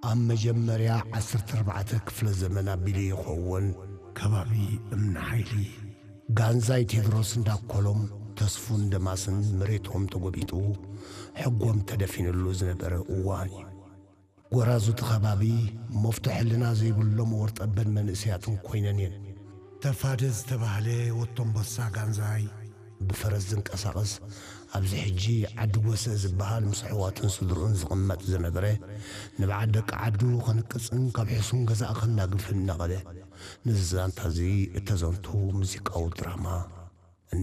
ኣብ መጀመርያ ዓሰርተ ኣርባዕተ ክፍለ ዘመን ኣቢሉ ይኸውን። ከባቢ እምኒ ሓይሊ፣ ጋንዛይ ቴድሮስ እንዳኮሎም፣ ተስፉ እንደማስን መሬቶም ተጎቢጡ፣ ሕጎም ተደፊንሉ ዝነበረ እዋን እዩ። ጎራዙ እቲ ከባቢ፣ መፍቶ ሕልና ዘይብሎም ወርጠበን መንእሰያትን ኮይነን እየን። ተፋደ ዝተባህለ ወቶምቦሳ ጋንዛይ፣ ብፈረስ ዝንቀሳቐስ፣ ኣብዚ ሕጂ ዓዲ ጎሰ ዝበሃል ምስ ኣሕዋቱን ስድርኡን ዝቕመጥ ዝነበረ፣ ንበዓል ደቂ ዓዱ ከንቅጽን ካብ ሕሱም ገዛእ ከናግፍን እናኸደ፣ ነዚ ዛንታ እዚ እተዘንቱ ሙዚቃዊ ድራማ